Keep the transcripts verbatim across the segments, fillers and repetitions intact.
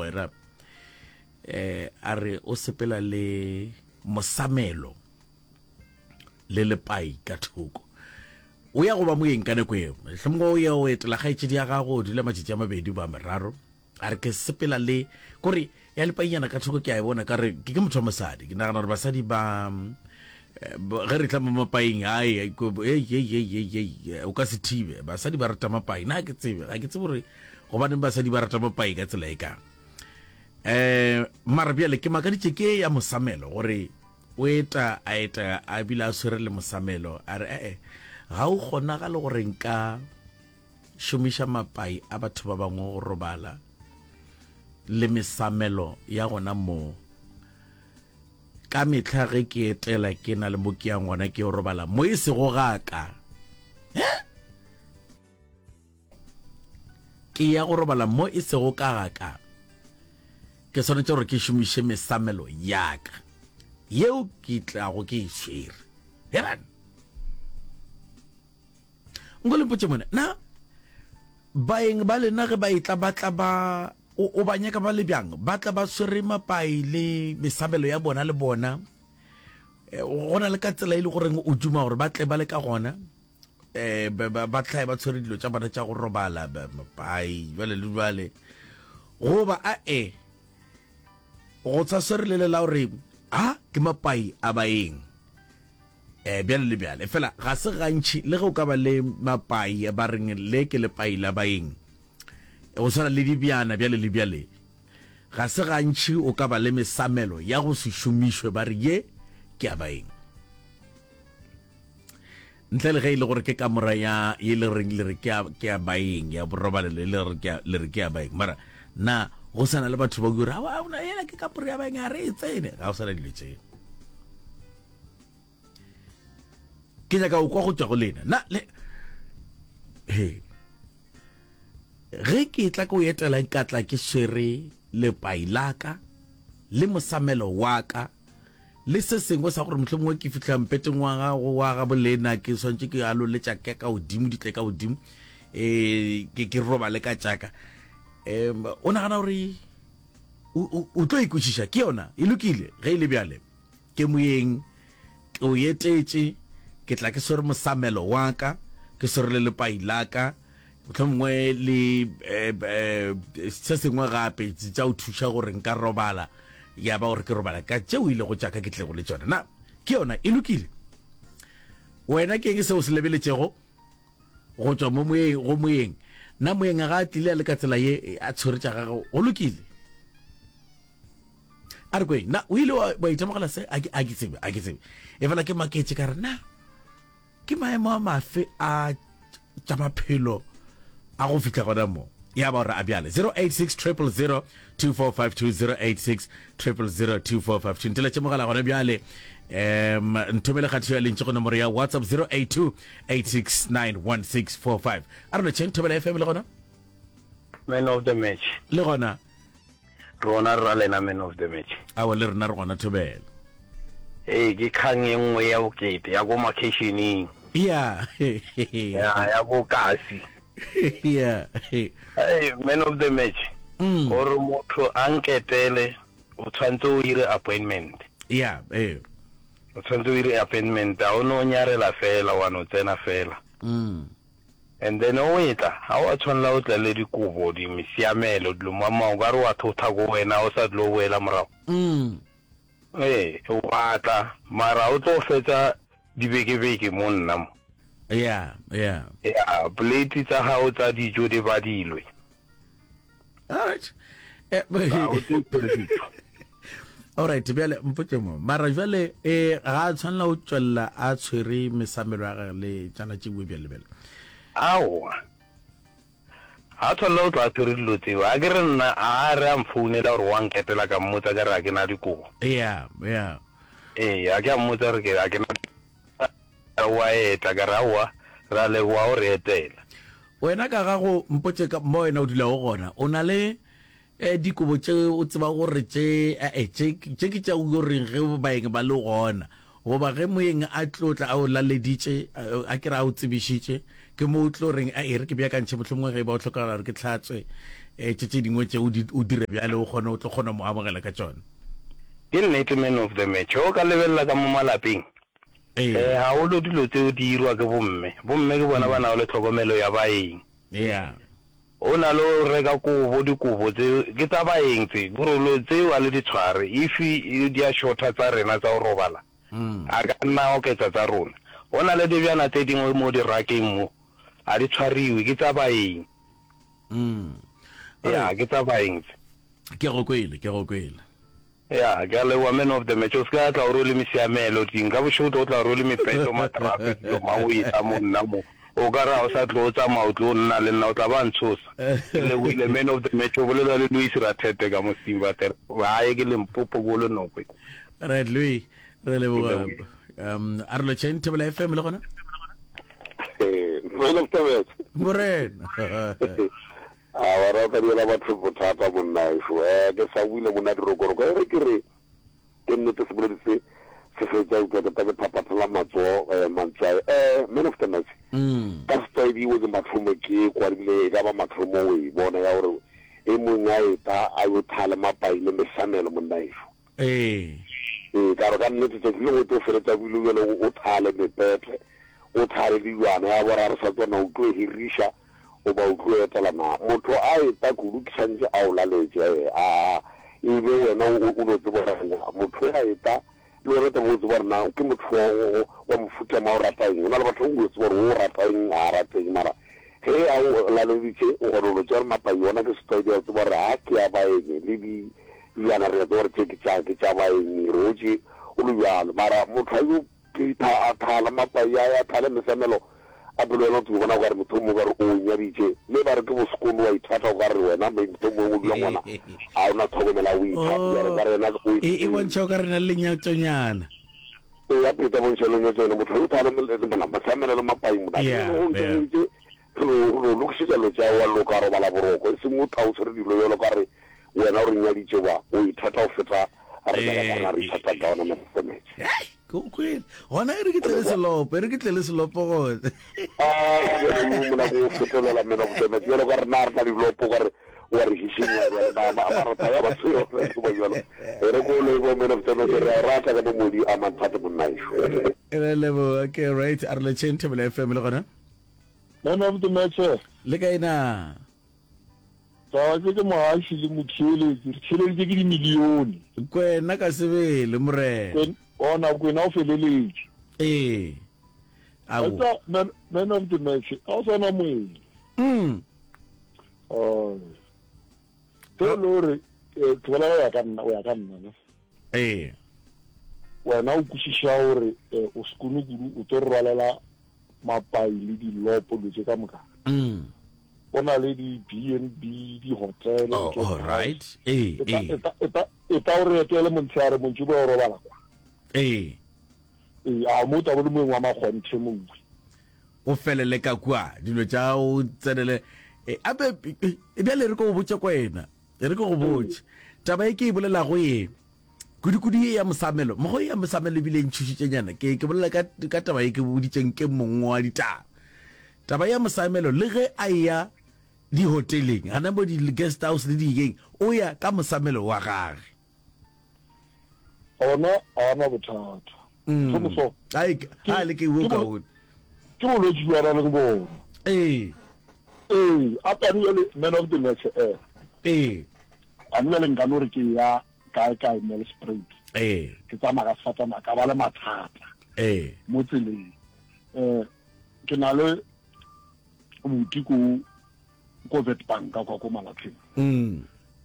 Mogwera eh a re o sepela le mosamelo le lepai ka thoko. O ya go ba moyeng ka nako eo. Mohlomongwe o ya o etela kgaetšedi ya gago, o dula matšatši a mabedi ba meraro. A re ke sepela le kore ya lepainyana ka thoko ke a e bona ka re ke ke motho wa mosadi. Ke nagana gore basadi ba eh, ge re tla mo mapaing ai o ka se thibe. Basadi ba rata mapai. Na ke tsebe, ga ke tsebe gore gobaneng basadi ba rata mapai ka tsela e kang. Eh mara bjale ke makaditše ke ya mosamelo gore o eta a eta a bile a swere le mosamelo a re ee ga o kgonagale gore nka šomiša mapai a batho ba bangwe go robala le mesamelo ya gona moo. Ka mehla ge ke etela ke na le mo ke yang gona ke yo robala mo e sego ga ka. Ke ya go robala mo e sego ka ga ka. Ke swanetše gore ke šomiše mesamelo ya ka yeo ke tlago ke e swere. Heran! Nko le mpotše mone, na baeng ba lena ge ba etla ba tla ba o, o ba nyaka ba le bjang? Ba tla ba swere mapai le mesabelo ya bona le bona? E, go na le ka tsela e le goreng o duma gore ba tle ba le ka gona? E, ba, ba, ba hlae ba tshwere dilo tša bona tša go robala, ba, mapai, jwale le jwale. Goba a e, go sa swere le le la gore a ke mapai a baeng. Eh, bjale le bjale. Fela ga se gantši le ge o ka ba le mapai ba reng le ke lepai la baeng, go swana le dibjana bjale le bjale, ga se gantši o ka ba le mesamelo ya go se šomišwe ba re ye ke ya baeng. Ntle le ge e le gore ke kamora ya ye le reng le re ke ya, ke ya baeng, ya borobalelo e le re ke ya, le re ke ya baeng. Mara na go sa na le batho ba gore aowa, aowa, yela ke kamora ya baeng, ga re e tsene. Ga go sa na dilo tšeo. Ke nyaka go kwa go tšwa go lena. Na le he ge ke tla ke o etela nka tla ke swere lepai la ka le mosamelo wa ka le se sengwe sa gore mohlomongwe ke fihla mpeteng wa gago wa ga bolena ke swantše ke alole tša ka ka godimo di tle ka godimo eh ke ke robale ka tšaka. Em o nagana gore o o tlo ikwešiša ke yona e lokile ge e le bjale. Ke moyeng, ke o etetše, ke tla ke swere mosamelo wa ka, ke swere le lepai la ka, mohlomongwe le se sengwe gape tša go thuša gore nka robala, ya ba gore ke robala ka tšeo e lego tša ka ke tlego le tšona. Na ke yona e lokile? Wena ke eng seo o se lebeletšego go tšwa mo moyeng, go moyeng? Na moyeng ga a tlile a le ka tsela ye a tshwere tša gagwe, go lokile? A re kweng, na o ile wa, wa itemogela se? A ke, a ke tsebe, a ke tsebe. E fela ke maketše ka re, na ke maemo a mafe a tša maphelo a go fihla gona mo? Ya ba gore a bjale. zero eight six triple zero two four five two, zero eight six triple zero two four five two. Nteletše mogala gona bjale. Um, nthomele kgatišo ya lentšu go nomoro ya WhatsApp zero eight two eight six nine one six four five. A re lotšheng Thobela F M le gona? Man of the match. Le gona. Rona ra lena man of the match. Awa le rena re gona Thobela. Ee, ke kgang e nngwe ya bokete ya ko makheišeneng. Ya. Ya, ya ko kasi. Ya. Hey, man of the match. Mm. Gore motho a nketele, o tshwanetse o ire appointment. Ya, ee. O tshwanetse o ire appointment, a o no nyarela fela, wa no tsena fela. Mm. And then o etla, ga wa tshwanela o tle le dikobo, di mesiamelo, dilo mama, o ka re wa thotha ko wena, o sa tlo boela morago. Mm. Ee, wa tla, mara o tlo fetsa dibekebeke mo nna mo. Yeah, yeah. Yeah, plate tsa gago tsa dijo di badilwe. All right. Eh, Ga o tlo tshwere dijo. All right, bjale mpotše mo. Mara bjale eh ga a tshwanela go tšwelela a tshwere mesamelo ya gagwe le tšana tšewe bjale bjale. Aowa. Ga a tshwanela go tla a tshwere dilo tseo. A ke re nna a re a mfounela gore wa nketela ka mmotsa ka re a ke na dikobo. Yeah, yeah. Ee, a ke a mmotsa gore ke a ke na wa etla ka re aowa re a leboga o re etela. Wena ka gago mpotše ka mo wena o dulago gona. O na le eh, dikobo tše o tseba gore tše eh, tše tše ke tša o reng ge baeng ba le gona, goba ge moeng a tlo tla a o laleditše, a ke re a o tsebišitše, ke mo o tlo reng a e re ke beakantšhe mohlomongwe ge e ba o hlokagala gore ke hlatswe eh, tše tše dingwe tše o di o dire bjale o kgone o tlo kgona mo amogela ka tšona. Ke nnete man of the match. Ge o ka lebelela ka mo malapeng, Ee. eh, gagolo dilo tseo di irwa ke bomme. Bomme ke bona ba nago le tlhokomelo ya baeng. Yeah. O na le go reka kobo, dikobo tse ke tsa baeng tse, borolo tseo a le di tshware. If di a shorta tsa rena tsa go robala, a ka nna a oketsa tsa rona. Go na le dibjana tse dingwe mo dirakeng mo, a di tshwariwe, ke tsa baeng. Ya, ke tsa baeng tse. Ke go kwele, ke go kwele. Ya, ke a leboga man of the match. O se ka tla o rwele mesiamelo ding. Ka bošego o tlo tla o rwele mepeto, matrape, dilo mang o etla mo nna mo. O ka re ga o sa tlo tsamaya o tlo nna le nna o tla ba ntshosa. Ke lebogile man of the match. O bolela le Louis Rathete ka mo Steenbater. Gae ke Limpopo ko Lenokwe. Right Louis, re Ke leboga. lebogile. Um a re lotšheng Thobela F M le gona? Man of the match. Morena. A wa ra ka diela batho bothata monna ešo. Eh ke sa buile monna dirokoroko. E re ke re ke nnete seboledi se se fetša eupša ke ta ke phaphathela matsogo eh, mantswae. Eh man of the match. Mm. Ka setlwaedi o ke mathomo ke kwa ebile e ka ba mathomo o e bona ya gore e mongwe a eta a yo thale mapai le mesamelo monna ešo. Ee. Ee, ka re ka nnete tšatši lengwe o tlo feletša bile bjale o thale mepetle, o thale dijwana ya bora re sa tsona o tlo hiriša goba o tlo etela na. Motho a eta kudu ke santše a o laletše eh, a e be wena o o no tseba gore na motho a eta le wena taba o tseba gore na ke motho wa wa mofuta ma o rata eng. Go na le batho o tseba gore o rata eng a rata eng mara ge a o laleditše o kgona go no tšea gore mapai ona ke setlwaedi a tseba gore ha ke ya baeng le di dijana re a tseba gore tše ke tša ke tša baeng re otše o le bjalo mara motho a yo phitha a thala mapai a ya thale mesamelo a pele wena o tsebo bona o ka re motho o mongwe o ka re o nyaditše mme ba re ke bosekolo wa ithata o ka re wena motho o mongwe o dula ngwana a o na tlhokomela o ithata jalo ka re yena o E e bontšha o ka re na le lenyatšonyana. e ya pheta bontšha lenyatšo yone motho o thale mesamelo le mapai mona Yeah, go yeah. ntse re lokišetša lo tša wa loka robala boroko e seng o tha o tshwere dilo jalo ka re wena o re nyaditše ba o ithata go feta re ka Eh, re ithata ka ona mesametse Hei, ke o kwele. Gona e re ke tle le selopo, e re ke tle le selopo gone. mona go fetolela mena botemetse jalo ka re na re na dilopo ka re wa re hišinya jale marata ya batho yona jalo e re ko lebo mena botemetse re a rata ka mo modi a manthate monnaešo. Re leboga. Okay, right. A re lotšheng Thobela F M le gona. Man of the match. Le kae na? Taba tse ke mohaši le motheeletši, re theeleditše ke dimilione. Kwena ka sebele morena. Kwen- Ona kwena o feleletše. Ee. Ao. Etsa man, man of the match, ga o sana moeng. Mm. Ai. Ke le gore eh, tlogela go ya ka nna, o ya ka nna ne. Ee. Wena o kwešiša gore eh, o sekone kudu o tlo rwalela mapai le dilopo dilo tše ka moka. Mm. O na le di B and B, di-hotel, Oh, di-guest all house. right. Ee, E ta- ee. e ta- e ta- e ta o re etele montshehare montši bo o robala kwa. Ee. Ee, a mo tabo le moeng wa makgonthe mongwe. O felele ka kua dilo tša o tsenele e ape e bjale re ko go botše kwena e re ke go botše taba e ke e bolelago ye kudu-kudu ye ya mosamelo mogo ya mosamelo ebile e ntšhošitšenyana ke ke bolela ka ka taba ye ke boditšeng ke mongwe wa ditaba taba ya mosamelo le ge a ya dihoteleng gana mo di-guest house le dikeng o ya ka mosamelo wa gage. Ona a na bothata. Mm. Thomoso. Ai a le ke wo kaone. Ke bolwetši bja ba leng bona. Ee. Ee, a tane jale man of the match eh. Ee. A nna le nka no re ke ya kae kae Nelspruit. Ee. Ke tsamaya ka sefatanaga ka ba le mathata. Ee. Mo tseleng. Eh ke na le buti ko ko Witbank ka kwa ko Malatleng. Mm.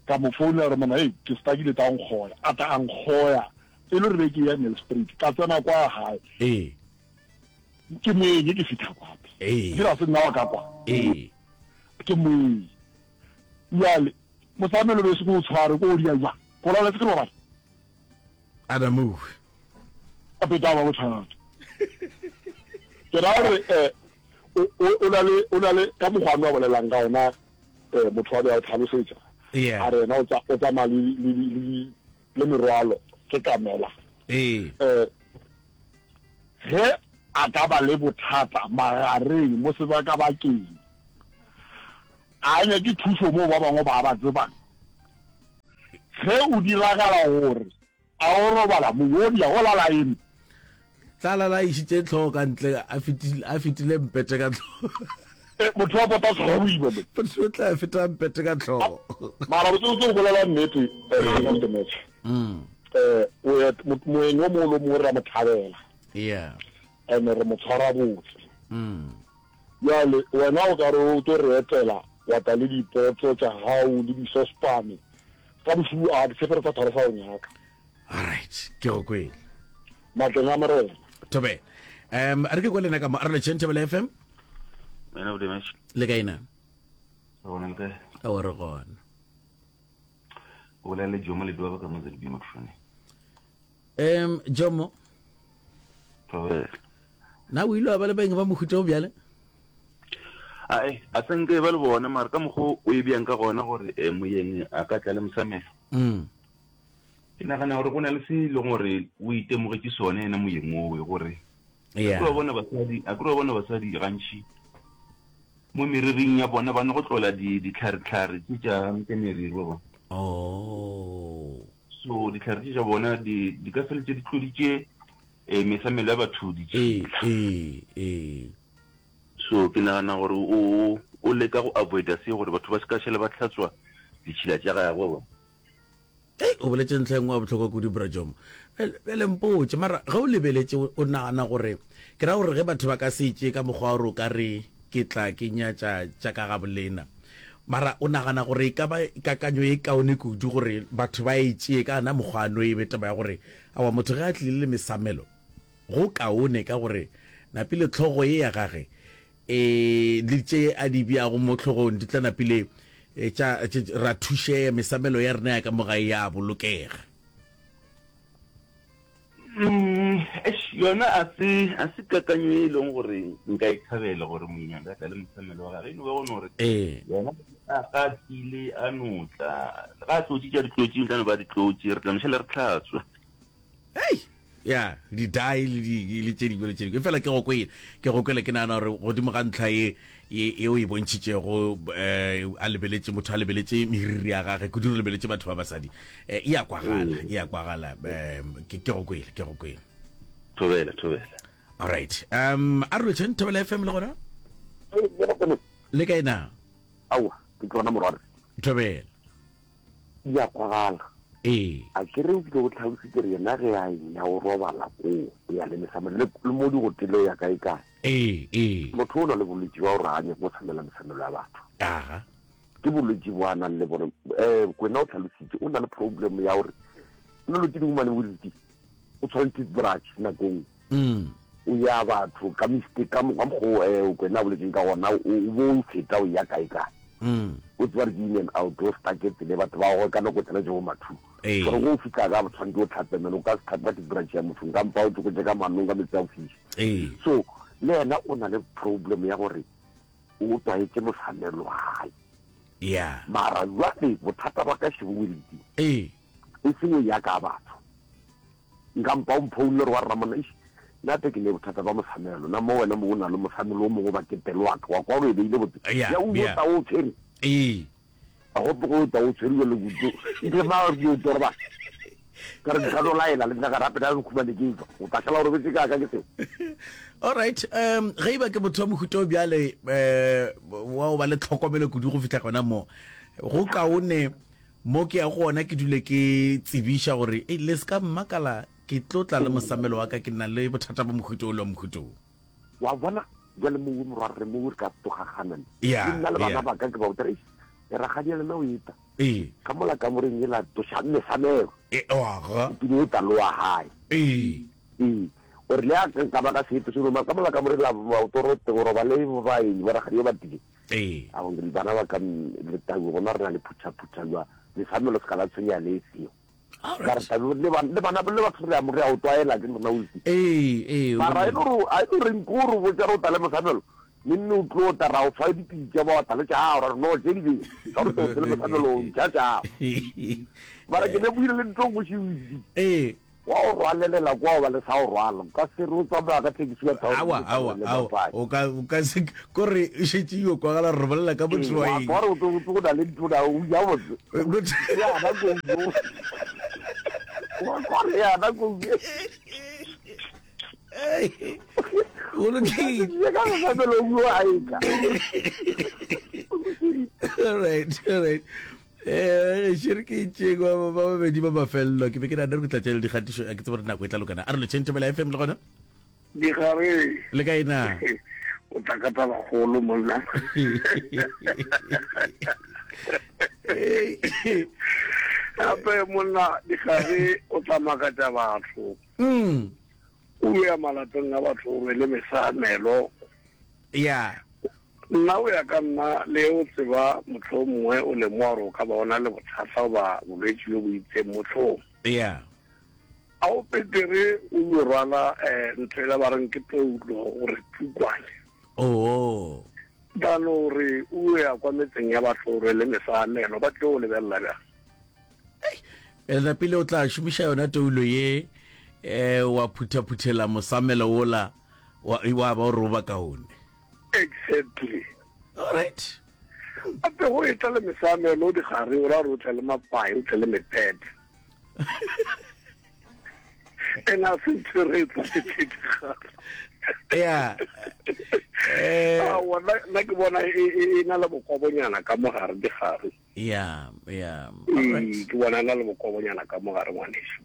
Ka mo founela re mona, hey, ke stakile ta nkgoya. A ta a nkgoya. E le re ke ya Nelspruit. Ka tsena kwa hae. Ee. Ke moeng ke fitha kwa. Ee. Ke ra se nna wa ka kwa. Ee. Ke moeng. Jwale mosamelo be se go tshware ko o dia jwang. Go laletse ke robala. Adamu. A peta ba bothata. Ke ra gore eh o o na le o na le ka mokgwa wa bolelang ka ona eh motho wa be a o tlhalosetsa. Yeah. A re yena o tsa o tsamaya le le le le merwalo ke kamela. Ee. Eh ge a ka ba le bothata magareng mo sebakabakeng A nyake thušo moo ba bangwe ba ba tsebang. Ge o diragala gore a o robala mo, wo dia go lala eme. Tla lala a išitše hlogo ka ntle, a fetile, a fetile mpete ka hlogo. E, motho wa pota hlogo boima mo. Motho o tla feta mpete ka hlogo. Mara botsebotse go bolela nnete, eh, man of the match. Mm. Eh, o et, mo, moeng o mongwe le o mongwe re a mo thabela. Yeah. And re mo tshwara botse. Mm. Bjale wena o ka re o tlo re etela, wa tla le dipotso tša gago le disospane. Ka bošego a ke tshepe re tla thaba sa go nyaka. Alright, ke go kwele. Matleng a Morena. Thobela. Um, a re ke kwa lena ka mo, a re letšheng Thobela F M. Man of the match. Le kae na? Re gona le kae? Aowa, re gona. O bolela le Jomo Leduaba ka mo Z B Mokhušwane. Um, Jomo. Thobela. Na o ile wa ba le baeng ba mohuta o bjale? Ae, a se nke ba le bona, mara ka mokgwa o e bjang ka gona gore, eh, moyeng a ka tla le mosamelo. Mm. Ke nagana gore go na le se e leng gore o itemogetše sone yena moyeng owe, gore Yeah. a ke re wa bona basadi, a ke re wa bona basadi gantši mo meriring ya bona ba no go tlola di, ditlhare-tlhare tše tša, tša meriri wa bona. Oh. So ditlhare tše tša bona di, di ka feletše di tloditše, eh, mesamelo ya batho ditšhila. Ee, ee, ee. So ke nagana gore o, o leka go avoida se gore batho ba se ka šala ba hlatswa ditšhila tša gagwe wa bona. Hei, o boletše ntlha e nngwe ya bohlokwa kudu, Bra Jomo. Bjale, bjale mpotše, mara ge o lebeletše, o, o nagana gore, ke ra gore ge batho ba ka se e tšee ka mokgwa wa gore o ka re ke tla ke nyatša tša ka gabolena, mara o nagana gore e ka ba kakanyo e kaone kudu gore batho ba e tšee ka ona mokgwa ano, e be taba ya gore aowa, motho ge a tlile le mesamelo, go kaone ka gore napile hlogo ye ya gage e le tše a di beago mo hlogong di tla napile tša, tše, ra thušea, mesamelo ya rena ya ka mo gae ya bolokega. Mm, eish, yona a se, a se kakanyo e leng gore nka e thabela gore mongwe a ka tla le mosamelo wa gage. E no ba gone gore Ee. yena a ga a tlile a no tla, ga a tlotše tša ditlotši, o tla no ba ditlotši, re tla no šala re hlatswa. Hei! Ya, di-dye le di, le tše dingwe le tše dingwe. Efela ke go kwele, ke go kwele ke nagana gore godimo ga ntlha ye, ye, ye o e bontšhitšego, eh, a lebeletše, motho a lebeletše meriri ya gage, kudu re lebeletše batho ba basadi, eh, e a kwagala, e a kwagala. Eh, ke, ke go kwele, ke go kwele. Thobela, thobela. All right. Um, a re lotšheng Thobela F M le gona? Le kae na? Aowa, ke tsona morwarre. Thobela. Di a kwagala. Ee. A ke re o kile o tlhalositse gore yena ge a eya o robala koo, o ya le mesamelo, le, le mo digotele o ya kae kae. Ee, ee. Motho o na le bolwetši bja gore ga a nyake go samela mesamelo ya batho. Aga. Ke bolwetši bo a nang le bone. Eh, Kwena o tlhalositse, o na le problem ya gore, o na le tse dingwe mane bo di, o tshware toothbrush nako nngwe. Mm. O ya batho ka mistake, ka mokgwa mokgwa o, eh, Kwena a boletseng ka gona, o, o bo o feta o ya kae kae. Mm. O tseba gore ke in and out, o stuck tsele, batho ba gagwe ka nako tsela tše bo mathu. Ee. Gore go fihla ka tshwanetse o tlhape meno, o ka se tlhape ka toothbrush ya motho, nka mpa o tsokotše ka manong ka metsi a go fiša. Ee. So le yena o na le problem ya gore o tlwaetše mosamelo wa gae. Yeah. Mara jwale bothata ba ka šebo o le Ee. E seng o ya ka batho. Nka mpa o mphounle gore wa rra monna, eish, nna te ke ne bothata ba mosamelo, na mo wena mo o na le mosamelo o mongwe ba ke pelo wa ka, wa kwa gore e beile botse. Yeah, Ya o yeah. tla o tshwere. Ee. A go tlogo o tla o tshwere jalo kudu. Ntle ma re o tlo roba. Ka re ka no laela le nna ka rape ka nkhumane ke tswa. O tla šala o robetse ka ka ke seo. All right, um ge e ba ke motho wa mohuta o bjale, eh, wa o ba le tlhokomelo kudu go fihla gona mo, go kaone mo ke ya go ona ke dule ke tsebiša gore, ei, le se ka mmakala, ke tlo tla le mosamelo wa ka, ke na le bothata ba mohuta o le wa mohuta o. Wa bona, bjale mo morwarre mo re ka togagana. Yeah, Le nna le bana yeah. ba ka ke ba botsa, eish, rakgadi ya lena o eta. Ee. Ka mola kamoreng ela tloša mesamelo. E, oaga. O pile o tla loa gae. Ee. Ee. O re le a ka ba ka seeto se roma ka mola kamoreng la ba o toro te go roba le ba eng ba rakgadi ba tile. Ee. A go bana ba ka le tau gona re na le phutha phutha jwa mesamelo se ka la tshwenya le seo. All Ka re right. tau le ba le bana le batho re a mo re a o tlwaela ke rena o itse. Ee, ee, o Mara e le le gore a e le gore nko re botša re o tla le mosamelo. Ne nne o tlo tla ra o fa dipitša ba wa tla le tša gago, ra re no tše di be ka gore o le mosamelo o ntšha tša gago. Mara ke ne buile le ntlo nngwe šebitse. Ee. Wa o rwalelela kwa o ba le sa o rwala. O ka se re o tsamaya ka thekisi ya town Awa, awa, awa. O ka, o ka se, ko re e šetše e yo kwagala gore re bolela ka motho wa eng. Wa kwa gore o na le ntho na o ja botse. Yana ko Wa kwa re yana ko Go lokile. Ka se sa lo bua a etla. All right, all right. Eh, šere ke itšeng ba ba babedi ba mafelelo ke be ke nagana gore ke tla tšea le dikgatišo a ke tsebe gore nako e tla lokana a re lotšheng thobela fm le gona Digare. le kae na O tla ka tabakgolo monna. Gape monna digare o tla makatša batho. Mm. O ya malapeng a batho o rwele mesamelo. Ya. Nna go ya ka nna, le o tseba mohlomongwe o lemoga gore o ka ba o na le bothata goba bolwetši bjo bo itseng mohlong. Yeah. A o petere o yo rwala um ntho ela ba reng ke toulo gore pukwane. Oo. Than gore o ya kwa metseng ya batho o rwele mesamelo, ba tlo go lebelela bjang? Ena pele o tla šomiša yona toulo ye um wa phutha-phuthela mosamelo wola wa, wa ba o re o ba kaone. Exactly. All right. Gape go etla le mesamelo digare o ra gore o tle le mapai o tle le mepete. And a se ntho re e tlwaetse digare. Yeah. Eh, Aowa, nna nna ke bona e e- e na le bokobonyana ka mogare digare. yeah, yeah. All right. Ee, ke bona e na le bokobonyana ka mogare ngwaneso.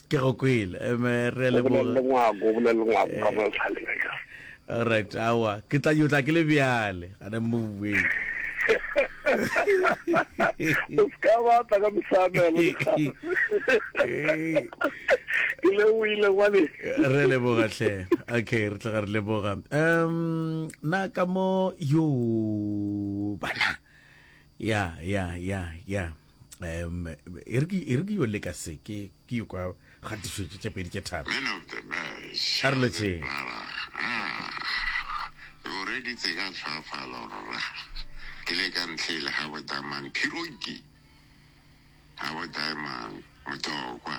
Ke go kwele. Em, re a O bolelele leboga. ngwako, o bolelele ngwako ka mo letlhaleng akere. Alright, aowa. Ke tla yo tla ke le bjale. Gana mo bueng. O se ka ba tla ka mesamelo. Ke le o ile ngwane. Re leboga hle. Okay, re tloga re leboga. Um na ka mo yo bana. Ya, ya, ya, ya. Um e re ke e re ke yo leka se ke ke yo kwa kgatišo tše tše pedi tše tharo. Man of the match. A re lotšheng. Rara. Ah. O reditse ka tlhoafalo rra. Ke le ka ntlhele ga bo Diamond Phiroki. Ga bo Diamond Motokwa.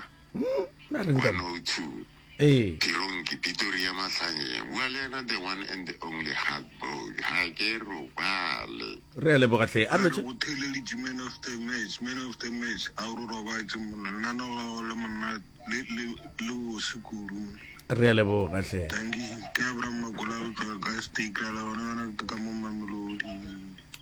Na reng ka One oh two. Ee. Phironki Pitoria Mahlanyeng. Bua le yena the one and the only hard boy. Ga ke robale. Re a leboga hle. A re Re lotšhe. go theeleditše man of the match, man of the match. A o re robatše monna, nna no la le monna le le le bose kudu. Re a leboga hle. Dankie, ke Abraham Makola go tšwa ka Stekla la bona yona ke ka mo Mamelodi.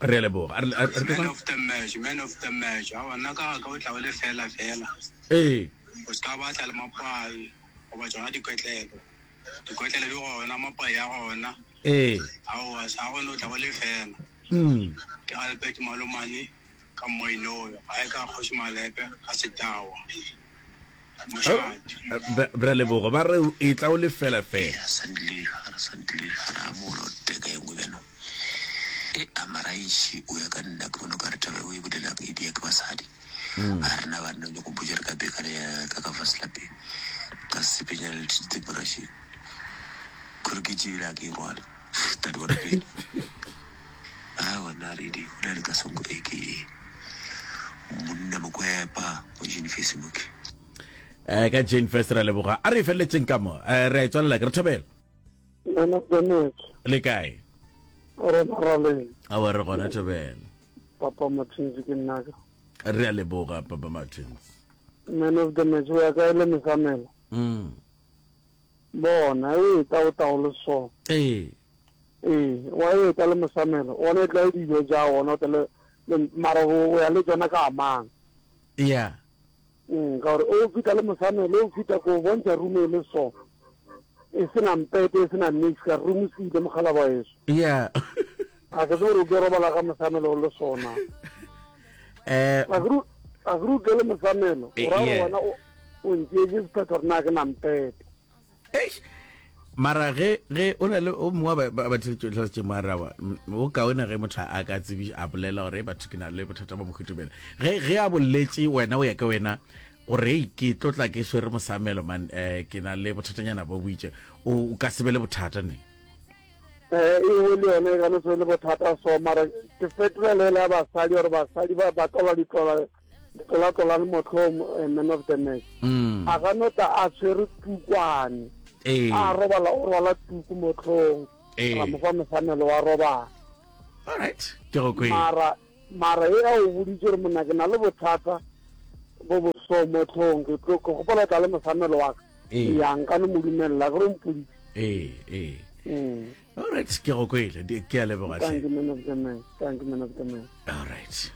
Re a leboga. A re a re Man of the match, man of the match. Aowa nna ka ga ka o tla o le fela fela. Ee. O se ka batla le mapai goba tšona dikotlelo. Dikotlelo di gona, mapai a gona. Ee. Aowa sa gona o tla o le fela. Mm. Ke Albert Malomane ka Moinoyo, gae ka Kgoši Malepe ka Setawa. Mošate. Re a leboga. Ba re e tla o le fela fela. Ea santile ga re santile ga re amogela o teka e nngwe bjano e amaraiši o ya ka nna ke bona o ka re taba eo e bolelang e dia ke basadi a rena banna o nyako mpotša re ka bekana ya ka ka fase lapeng ka sepenyana le toothbrush kore ke tšebile a ke e rwale tadi bona pele awa nna redi o na le ka songo e ke monna mokwepa mo Jane Facebook Eh ka Jane First re a leboga. A re e feleletšeng ka mo. Eh re a e tswalela ke re thobela. Man of the match. Le kae? Rena raleng. Awa re gona thobela. Papa Martins ke nna ka. Re a leboga Papa Martins. Man of the match o ya kae le mesamelo? Mm. Bona e tla o tla le so. Ee. Ee, wa e tla le mosamelo. Ona e tla e dijo ja ona o tla le mara o ya le tsona ka amang. Yeah. Mm, ka gore o fita le mosamelo o fita ko bontšha room e le so. E sena mpete e sena nix ka room se ile mogala ba eso. Yeah. A ke tsebe gore o ke robala ka mosamelo o le sona. Eh A ke a ke tle le mosamelo. O ra gore Yeah. wena o o ntšeetše sephetho gore na ke na mpete. Eish. Mara ge ge o na le o mongwe wa ba batho mara wa o kaone ge motho a ka tsebi a bolela gore batho ke na le bothata ba mohutumela ge ge a boletše wena o ya ka wena gore ei ke tlo tla ke swere mosamelo man eh ke na le bothatanyana bo boitše o o ka se be le bothata ne Eh, e nngwe le yone e ka no se be le bothata so mara ke fetolela ya basadi gore basadi ba ba tlola ditlola Tlola-tlola le mohlong eh, man of the match. Mm. A ka no tla a tshwere tukwane. Ee. A robala o rwala tuku mohlong. Ee. Ra mo fa mosamelo wa robala. All right. Ke go kwele. Mara mara e a o boditše gore monna ke na le bothata bo bo so mohlong ke tlo ke gopola tla le mosamelo wa ka. Ee. Ya nka no mo dumelela ke re o mpoditše. Ee, ee. Mm. All right, ke go kwele. Di- Ke a leboga Thank hle. you man of the match. Thank you man of the match. All right.